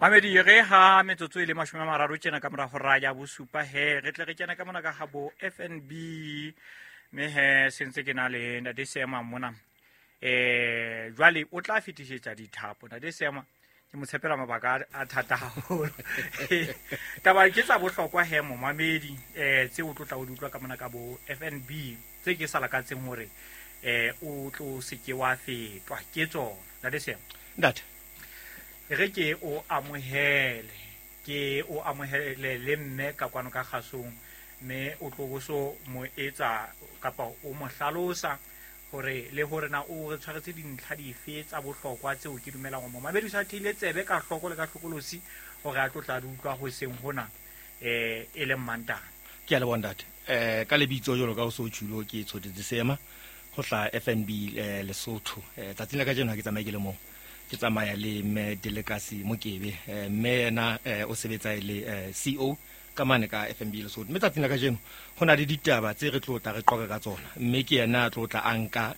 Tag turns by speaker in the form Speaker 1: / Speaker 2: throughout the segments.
Speaker 1: Mamedi re ha metsotso e le 30 tjena ka mora hora ya bosupa he re tle re kena ka mona ka ha bo FNB mme he sentse ke na le ntate Seema mona. Jwale o tla fetisetsa dithapo ntate Seema, ke mo tshepela mabaka a thata haholo. Taba ke tsa bohlokwa he momamedi, tse o tlo tla o di utlwa ka mona ka bo FNB, tse ke sa lakatseng hore o tlo se ke wa fetwa ke tsona. Ntate Seema.
Speaker 2: Ntate.
Speaker 1: Re ke o amohele, ke o amohele le mme ka kwano ka kgasong, mme o tlo bo so mo etsa kapa o mo hlalosa hore le hore na o re tshwaretse dintlha dife tsa bohlokwa tseo ke dumelang hore momamedi o sa theile tsebe ka hloko le ka hlokolosi hore a tlo tla di utlwa hoseng hona, e leng Mantaha.
Speaker 2: Ke a leboha ntate. Ka lebitso jwalo ka o so tjhulo ke Tshotetse Seema ho hlaha FNB Lesotho. Tsatsing la kajeno ha ke tsamaye ke le mong, ke tsamaya le mme Delekasi Mokebe. Mme yena o sebetsa e le CEO ka mane ka FNB Lesotho. Mme tsatsing la kajeno ho na le ditaba tse re tlo tla re qoqa ka tsona, mme ke yena a tlo tla a nka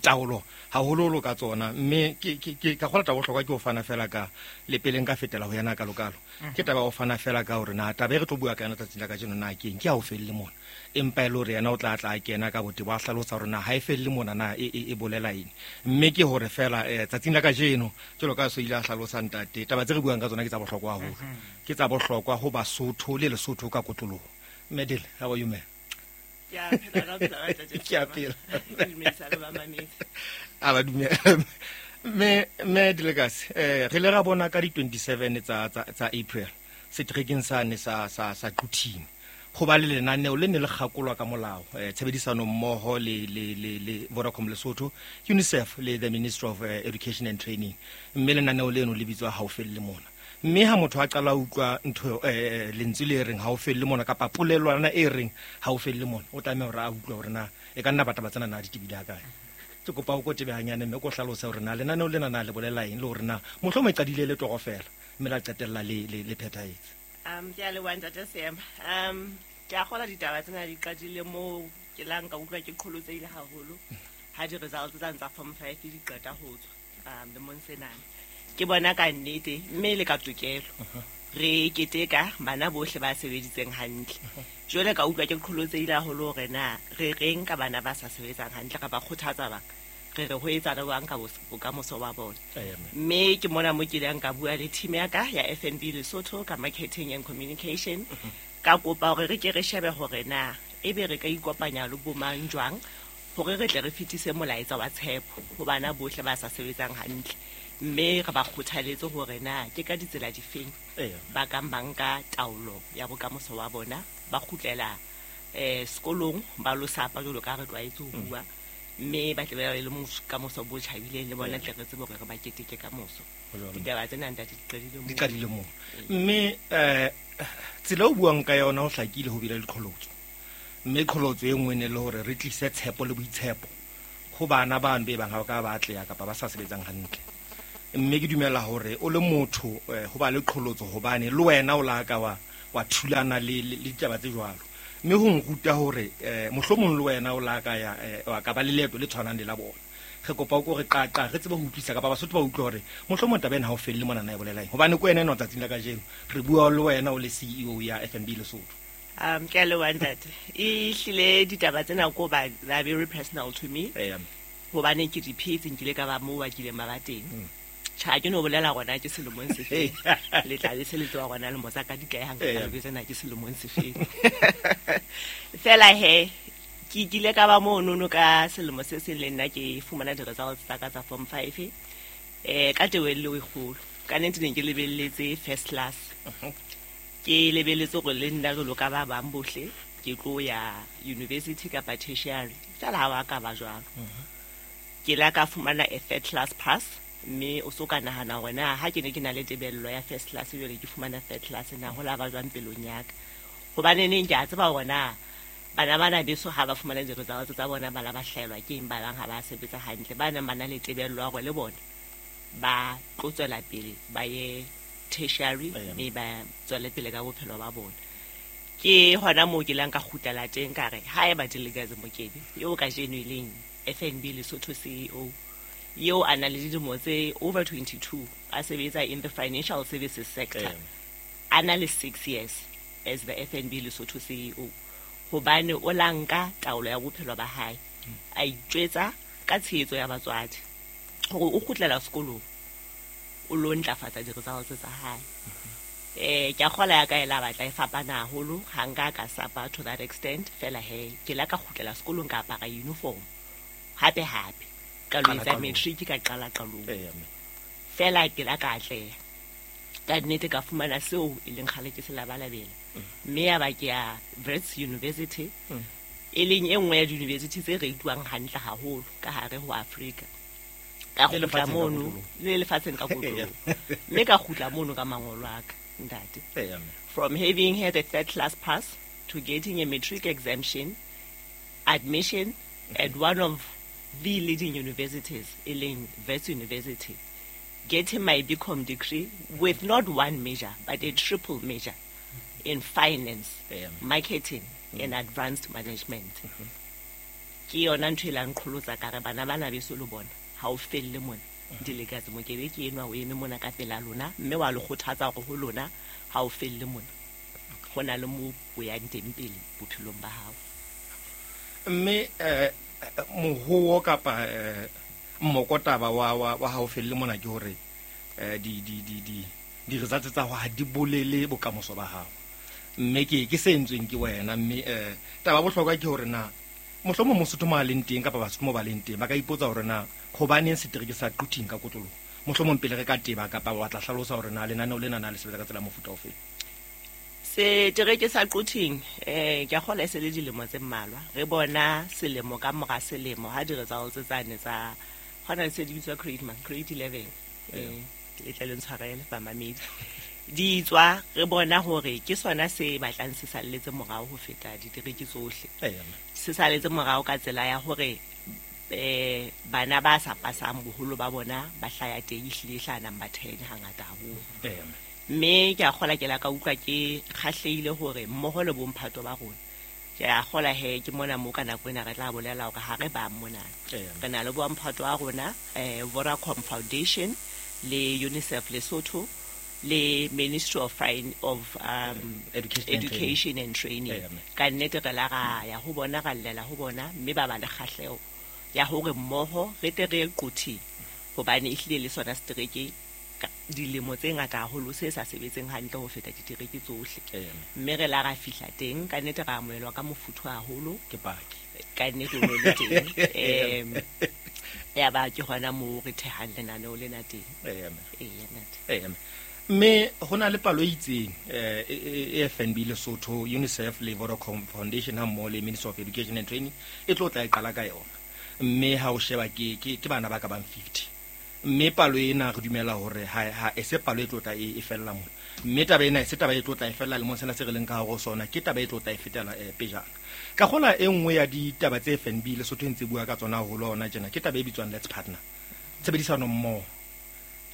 Speaker 2: taolo haholoholo ka tsona. Mme ke ka kgola taba bohlokwa ke ho fana fela ka le pele nka fetela ho yena kalokalo. Ke taba ya ho fana fela ka hore na taba e re tlo bua ka yona tsatsing la kajeno na ke eng, ke ha o felle mona. Empa e le hore yena o tla tla a kena ka botebo a hlalosa hore na ha e felle mona na e bolela eng. Mme ke hore fela tsatsing la kajeno jwalo ka so ile a hlalosa ntate, taba tse re buang ka tsona ke tsa bohlokwa haholo. Ke tsa bohlokwa ho Basotho le Lesotho ka kotloloho. Mme Dele, how are you, ma'am?
Speaker 3: Ke a phela, ka phela, ka ntate
Speaker 2: Ke a phela.
Speaker 3: Ke dumedisa le ba mamedi.
Speaker 2: A ba dumela. Mme Delekasi, re le ra bona ka di 27 tsa April seterekeng sane sa Quthing ho ba le lenaneo le ne le kgakolwa ka molao, tshebedisano mmoho le Vodacom Lesotho, UNICEF le the Ministry of Education and Training. Mme lenaneo leno le bitswa Ha o felle mona. Mme ha motho a qala ho utlwa ntho, lentswe le reng ha o felle mona kapa polelwana e reng ha o felle mona, o tlameha hore a utlwe hore na e ka nna bataba tsena na di tebile ha kae. Ke kopa o ko tebe hanyane mme ko hlalose hore na lenaneo lena na le bolela eng le hore na mohlomong e qadile le toro fela mme la qetella le phethahetse.
Speaker 3: Ke a leboha ntate Seema. Ke a kgolwa ditaba tsena di qadile moo ke la nka utlwa ke qholotsehile haholo ha di-results tsa ntsa form 5 di qeta ho tswa, lemong senana. Ke bona ka nnete mme le ka tokelo re keteka bana bohle ba sebeditseng hantle. Jwale ka utlwa ke qholotsehile haholo hore na re reng ka bana ba sa sebetsang hantle, re ba kgothatsa bang, re re ho etsa jwang ka bokamoso ba bona. Mme ke mona mo ke ileng ka bua le team ya ka ya FNB Lesotho ka marketing and communication, ka kopa hore re ke re shebe hore na ebe re ka ikopanya le bo mang jwang hore re tle re fetise molaetsa wa tshepo ho bana bohle ba sa sebetsang hantle, mme re ba kgothaletse hore na ke ka ditsela difeng ba kang ba nka taolo ya bokamoso wa bona, ba kgutlela sekolong ba lo sapa jwalo ka re tlwaetse ho bua, mme ba tle ba le kamoso bo tjhabileng le bona tle re tsebe hore re ba keteke kamoso. Ditaba tsena ntate di qadile moo.
Speaker 2: Di qadile moo. Mme tsela o buang ka yona ho hlakile ho bile le qholotso. Mme qholotso e nngwe ne le hore re tlise tshepo le boitshepo ho bana bano be bang ha ba ka ba atleha kapa ba sa sebetsang hantle. Mme ke dumela hore o le motho ho ba le qholotso hobane le wena o la ka wa thulana le ditaba tse jwalo. Mme ho nruta hore mohlomong le wena o la ka ya wa ka ba le leeto le tshwanang le la bona. Re kopa o ko re qaqa, re tsebe ho utlwisa kapa Basotho ba utlwe hore mohlomong taba ena ha o felle mona na e bolela eng. Hobane ko wena enwa tsatsing la kajeno re bua le wena o le CEO ya FNB Lesotho.
Speaker 3: Ke a leboha ntate. E hlile ditaba tsena ko ba, they are very personal to me. Hobane ke di phetse, nkile ka ba moo ba kileng ba ba teng. Tjha, ha ke no bolela hore na ke selemong se feng. Le tla be se le tseba hore na lemo tsa ka di kae ha nka ka jwetsa na ke selemong se feng. Fela he, ke kile ka ba monono ka selemo se seng le nna ke fumana di-results tsa ka tsa form 5. Ka tebello e kgolo. Ka nnete ne ke lebelletse first class. Ke lebelletse hore le nna jwalo ka ba bang bohle ke tlo ya university kapa tertiary. Fela ha wa ka ba jwalo. Ke la ka fumana a third class pass, mme o so ka nahana hore na ha ke ne ke na le tebello ya first class jwale ke fumana third class na ho la ba jwang pelong ya ka. Hobane neng ke a tseba hore na bana bana beso ha ba fumana di-results tsa bona ba la ba hlaelwa ke eng, ba bang ha ba sebetsa hantle, ba nang ba na le tebello ya hore le bona ba tlo tswela pele ba ye tertiary mme ba tswele pele ka bophelo ba bona. Ke hona moo ke lang ka kgutlela teng ka re haeba Delegazi Mokebe eo kajeno e leng FNB Lesotho CEO Eo a na le dilemo tse over 22 a sebetsa in the financial services sector, a na le 6 years as the FNB Lesotho CEO, hobane o la nka taolo ya bophelo ba hae, a itjwetsa ka tshehetso ya batswadi hore o kgutlela sekolong o lo ntlafatsa di-results tsa hae. Ke a kgola ya ka e la batla e fapana haholo, ha nka ka sapa to that extent. Fela he ke la ka kgutlela sekolong, ka apara uniform hape hape, ka lo etsa matric, ka qala qalong. Fela ke la ka atleha ka nnete, ka fumana seo e leng kgale ke se labalabela, mme ya ba ke ya Wits University, e leng e nngwe ya di-university tse reituwang hantle haholo ka hare ho Afrika. Ka kgutla mono le lefatsheng ka kotloloho, mme ka kgutla mono ka mangolo a ka, ntate. From having had a third class pass to getting a matric exemption admission at one of the leading universities, e leng Wits University, getting my BCom degree with not one major but a triple major in finance, marketing and advanced management. Ke yona ntho e lang qholotsa ka re bana bana beso le bona ha o felle mona. Dilekatse Mokebe ke enwa o eme mona ka pela lona, mme wa le kgothatsa hore ho lona ha o felle mona, ho na le mo o yang teng pele bophelong ba hao.
Speaker 2: Mme mohowo kapa mmokotaba wa ha o felle mona ke hore di results tsa hao ha di bolele bokamoso ba hao, mme ke se entsweng ke wena. Mme taba bohlokwa ke hore na mohlomong Mosotho mo a leng teng kapa Basotho mo ba leng teng ba ka ipotsa hore na hobaneng setereke sa Quthing ka kotloloho. Mohlomong pele re ka teba kapa wa tla hlalosa hore na lenaneo lena na le sebetsa ka tsela mofuta ofe.
Speaker 3: Setereke sa Quthing, ke a kgola e se le dilemo tse mmalwa re bona selemo ka mora selemo ha di-results tsane tsa hona le se di bitswa grade man grade 11, le tle le ntshwarele bamamedi, di tswa, re bona hore ke sona se batlang se salletse morao ho feta ditereke tsohle. Se saletse morao ka tsela ya hore bana ba sa pasang boholo ba bona ba hlaya teng, ehlile e hlaha number 10 hangata haholo. Mme ke a kgola ke la ka utlwa ke kgahlehile hore mmoho le bomphato ba rona, ke a kgola he ke mona mo ka nako ena re tla bolela hore ha re bang mona, re na le bomphato wa rona, Vodacom Foundation le UNICEF Lesotho le Ministry of
Speaker 2: Education
Speaker 3: and Training. Ka nnete re la ra ya ho bona, ra llela ho bona, mme ba ba le kgahleho ya hore mmoho re tle re ye Quthing, hobane ehlile le sona setereke dilemo tse ngata haholo se sa sebetseng hantle ho feta ditereke tsohle. Mme re la ra fihla teng, ka nnete ra amohelwa ka mofuthu haholo.
Speaker 2: Ke paki.
Speaker 3: Ka nnete o no le teng. Ya ba ke hona moo re thehang lenaneo lena teng. Eya.
Speaker 2: Mme ho na le palo e itseng e FNB Lesotho, UNICEF le Vodacom Foundation ha mmoho le Ministry of Education and Training e tlo tla e qala ka yona. Mme ha o sheba ke bana ba ka bang 50. Mme palo ena re dumela hore ha e se palo e tlo tla e fella mona. Mme taba ena e se taba e tlo tla e fella lemong sena se re leng ka hare ho sona, ke taba e tlo tla e fetela pejana. Ka kgola e nngwe ya ditaba tse FNB Lesotho e ntse bua ka tsona haholo hona tjena ke taba e bitswang Let's Partner. Tshebedisano mmoho.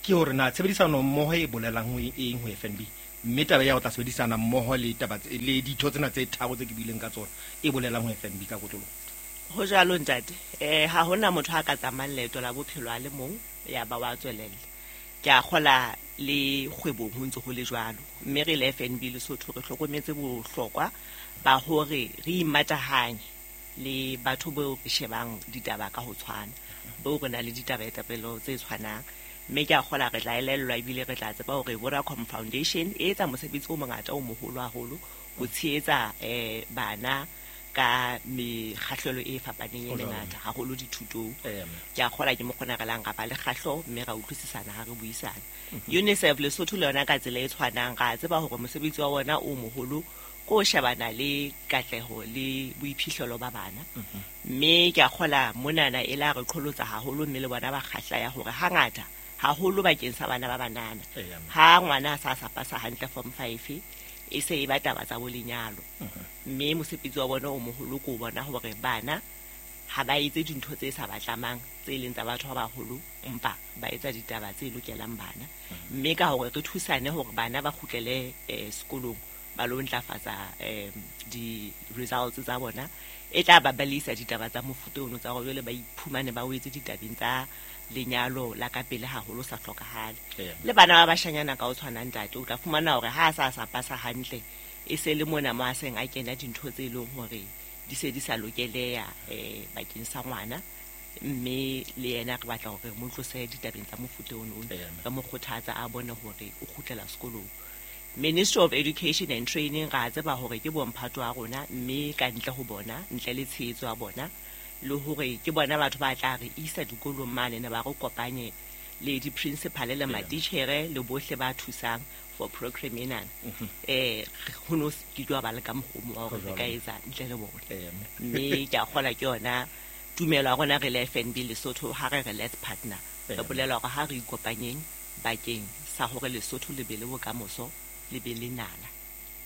Speaker 2: Ke hore na tshebedisano mmoho e bolelang ho eng ho FNB, mme taba ya ho tla sebedisana mmoho le taba le ditho tsena tse tharo tse ke buileng ka tsona e bolelang ho FNB ka kotloloho.
Speaker 3: Ho jwalo ntate, ha hona motho a ka tsamayang leeto la bophelo a le mong ya ba wa tswelella. Ke a kgola le kgwebong ho ntse ho le jwalo, mme re le FNB Lesotho re hlokometse bohlokwa ba hore re imatahanye le batho bao re shebang ditaba ka ho tshwana, bao re na le ditabatabelo tse tshwanang. Mme ke a kgola re tla elellwa ebile re tla tseba hore Vodacom Foundation e etsa mosebetsi o mongata o moholo haholo ho tshehetsa bana ka mekgahlelo e fapaneng e mengata haholo dithutong. Ke a kgola ke mo kgona re lang ra ba le kgahlo mme ra utlwisisana ha re buisana. UNICEF Lesotho le yona ka tsela e tshwanang ra tseba hore mosebetsi wa bona o moholo ko shebana le katleho le boiphihlelo ba bana. Mme ke a kgola monana e la re qholotsa haholo, mme le bona ba kgahla ya hore hangata haholo bakeng sa bana ba banana, ha ngwana a sa pasa hantle form 5 e se e ba taba tsa bo lenyalo. Mme mosebetsi wa bona o moholo ko bona hore bana ha ba etse dintho tse sa batlamang tse leng tsa batho ba baholo, empa ba etsa ditaba tse lokelang bana. Mme ka hore re thusane hore bana ba kgutlele sekolong ba lo ntlafatsa di-results tsa bona, e tla ba balisa ditaba tsa mofuta ono tsa hore jwale ba iphumane ba wetse ditabeng tsa Lenyalo la ka pele haholo sa hlokahale. Le bana ba bashanyana ka o tshwana ntate, o tla fumana hore ha a sa pasa hantle, e se le mona mo a seng a kena dintho tse leng hore di se di sa lokeleha bakeng sa ngwana. Mme le yena re batla hore mo tlose ditabeng tsa mofuta ono, re mo kgothatsa a bone hore o kgutlela sekolong. Ministry of Education and Training ra tseba hore ke bomphato wa rona, mme ka ntle ho bona, ntle le tshehetso ya bona, le hore ke bona batho ba tla re isa dikolong mane ne ba re kopanye le di-principal le matitjhere le bohle ba thusang for program ena. Ho no ke tlo ba le ka mokgomo wa hore re ka etsa ntle le bona. Mme ke a kgola ke yona tumelo ya rona re le FNB Lesotho, ha re re let's partner, re bolela hore ha re ikopanyeng bakeng sa hore Lesotho le be le bokamoso, le be le nala.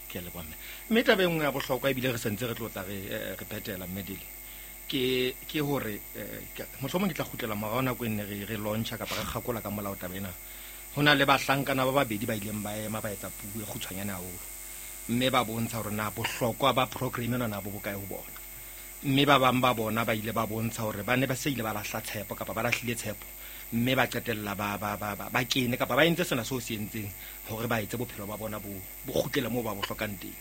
Speaker 2: Ke a leboha mme. Mme taba e nngwe ya bohlokwa ebile re sentse re tlotla re phetela mme Dele, ke hore mohlomong ke tla kgutlela morao nako e nne re launcha kapa re kgakola ka molao taba ena. Ho na le bahlankana ba babedi ba ileng ba ema ba etsa puo e kgutshwanyane haholo, mme ba bontsha hore na bohlokwa ba program ena na bo bokae ho bona. Mme ba bang ba bona ba ile ba bontsha hore ba ne ba se ile ba lahla tshepo kapa ba lahlile tshepo, mme ba qetella ba kene kapa ba entse sena seo se entseng hore ba etse bophelo ba bona bo kgutlele moo ba bo hlokang teng.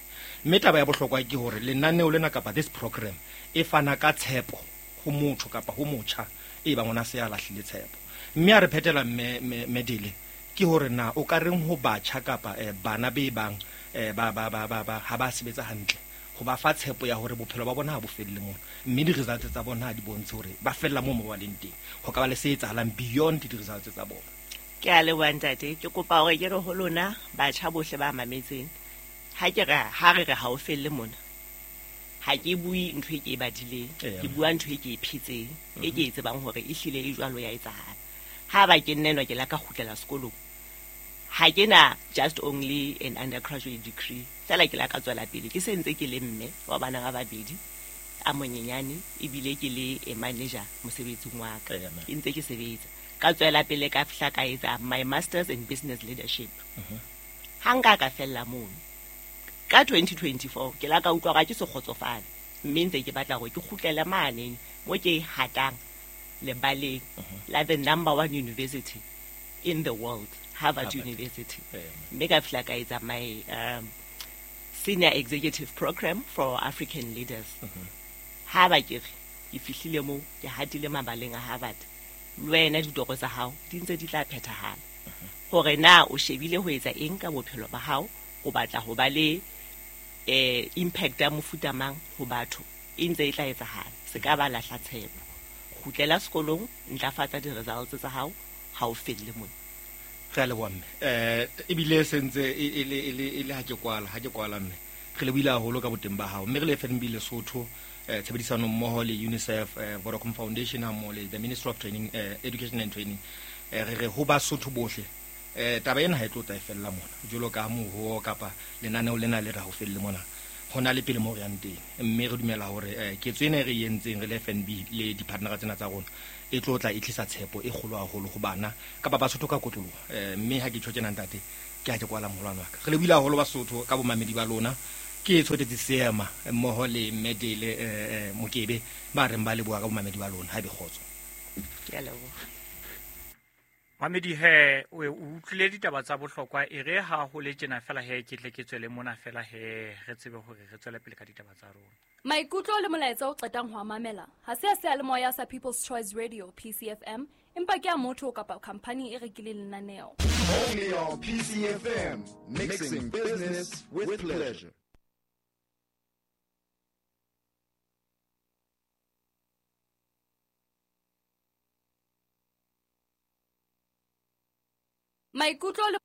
Speaker 2: Mme taba ya bohlokwa ke hore lenaneo lena kapa this program e fana ka tshepo ho motho kapa ho motjha e bang ona se a lahlile tshepo. Mme a re phetela mme Dele, ke hore na o ka reng ho batjha kapa bana be bang ba ha ba sebetsa hantle, ho ba fa tshepo ya hore bophelo ba bona ha bo felle mona, mme di-results tsa bona ha di bontshe hore ba fella moo mo ba leng teng, ho ka ba le se etsahalang beyond di-results tsa bona.
Speaker 3: Ke a leboha ntate. Ke kopa hore ke re ho lona batjha bohle ba mametseng, ha ke re ha re re ha o felle mona, ha ke bue ntho e ke e badileng, ke bua ntho e ke e phetseng, e ke e tsebang hore e hlile e jwalo ya etsahala. Ha ba ke nnenwa ke la ka kgutlela sekolong, ha ke na just only an undergraduate degree, fela ke la ka tswela pele ke se ntse ke le mme wa bana ba babedi a monyenyane, ebile ke le a manager mosebetsing wa ka, ke ntse ke sebetsa. Ka tswela pele ka fihla ka etsa my masters in business leadership. Ha nka ka fella mono ka 2024, ke la ka utlwa hore ha ke se kgotsofale, mme ntse ke batla hore ke kgutlele mane mo ke hatang lebaleng la the number one university in the world, Harvard University. Mme ka fihla ka etsa my senior executive program for African leaders. Ha ba ke re ke fihlile moo, ke hatile mabaleng a Harvard, le wena ditoro tsa hao di ntse di tla phethahala. Hore na o shebile ho etsa eng ka bophelo ba hao, o batla ho ba le impact ya mofuta mang ho batho, e ntse e tla etsahala. Se ka ba lahla tshepo. Kgutlela sekolong, ntlafatsa di-results tsa hao, ha o felle mona.
Speaker 2: Re a leboha mme. Ebile se ntse e le ha ke kwala mme. Re lebohile haholo ka boteng ba hao. Mme re le FNB Lesotho, tshebedisano mmoho le UNICEF, Vodacom Foundation ha mmoho le the Ministry of Training, Education and Training. Re re ho Basotho bohle, taba ena ha e tlo tla e fella mona. Jwalo ka moho kapa lenaneo lena le re ha o felle mona. Ho na le pele mo re yang teng. Mme re dumela hore ketso ena e re e entseng re le FNB le di-partner tsena tsa rona e tlo tla e tlisa tshepo e kgolo haholo ho bana kapa Basotho ka kotloloho. Mme ha ke tjho tjena ntate, ke ha ke kwala moholwane wa ka. Re lebohile haholo Basotho ka bomamedi ba lona. Ke Tshotetse Seema mmoho le mme Dele Mokebe ba reng ba leboha ka bomamedi ba lona. Ha ebe kgotso.
Speaker 3: Ke a leboha.
Speaker 1: Mamedi he, o utlwile ditaba tsa bohlokwa, e re ha ho le tjena fela he, ke tle ke tswele mona fela he, re tsebe hore re tswele pele ka ditaba tsa rona.
Speaker 4: Maikutlo le molaetsa o qetang ho a mamela ha se a seyalemoya sa People's Choice Radio PCFM, empa ke a motho kapa company e rekileng lenaneo.
Speaker 5: Only on PCFM, mixing business with pleasure.
Speaker 4: Maikutlo le